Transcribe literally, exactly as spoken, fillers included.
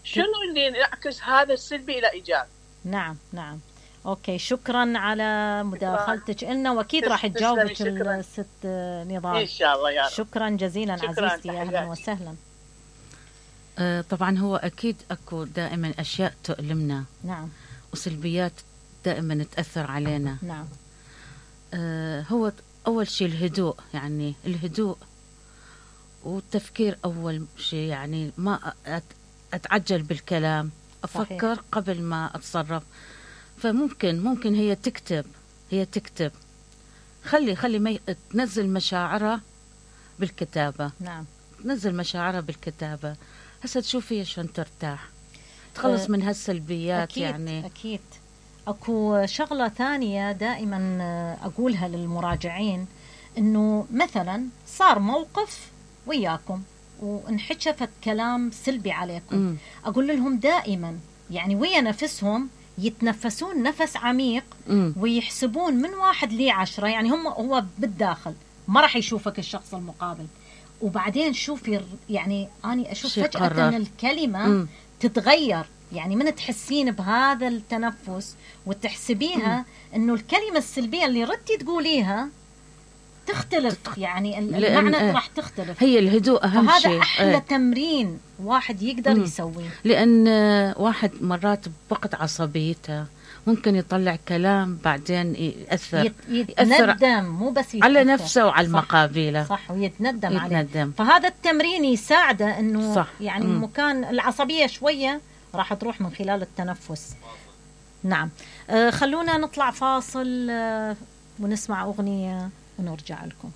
شنو اللي يعكس هذا السلبي الى ايجابي. نعم نعم. اوكي، شكرا على مداخلتك لنا، واكيد راح تجاوبك الست نضال ان شاء الله يا رب. شكرا جزيلا شكرا عزيزتي، اهلا وسهلا. آه طبعا هو اكيد اكو دائما اشياء تؤلمنا. نعم. وسلبيات دائما تاثر علينا. نعم. آه هو اول شيء الهدوء، يعني الهدوء والتفكير اول شيء، يعني ما اتعجل بالكلام، افكر صحيح. قبل ما اتصرف. فممكن ممكن هي تكتب هي تكتب خلي خلي ما تنزل مشاعرها بالكتابة. نعم. تنزل مشاعرها بالكتابة، هسه تشوفي شلون ترتاح، تخلص أه من هالسلبيات. أكيد يعني أكيد. أكو شغلة ثانية دائما أقولها للمراجعين، إنه مثلا صار موقف وياكم وانحكفت كلام سلبي عليكم، م. أقول لهم دائما يعني ويا نفسهم يتنفسون نفس عميق، م. ويحسبون من واحد لي عشرة، يعني هم هو بالداخل ما راح يشوفك الشخص المقابل، وبعدين شوفي يعني أنا أشوف فجأة أن الكلمة م. تتغير، يعني من تحسين بهذا التنفس وتحسبيها م. أنه الكلمة السلبية اللي ردتي تقوليها تختلف، يعني المعنى راح تختلف. هي الهدوء أهم فهذا شيء. هذا أحلى اه. تمرين واحد يقدر م. يسويه، لأن واحد مرات بوقت عصبيته ممكن يطلع كلام بعدين يأثر يتندم، مو بس يتأثر على نفسه وعلى المقابله. صح، ويتندم, يتندم عليه. فهذا التمرين يساعده انه صح. يعني م. مكان العصبيه شويه راح تروح من خلال التنفس. نعم. آه خلونا نطلع فاصل آه ونسمع اغنيه ونرجع لكم.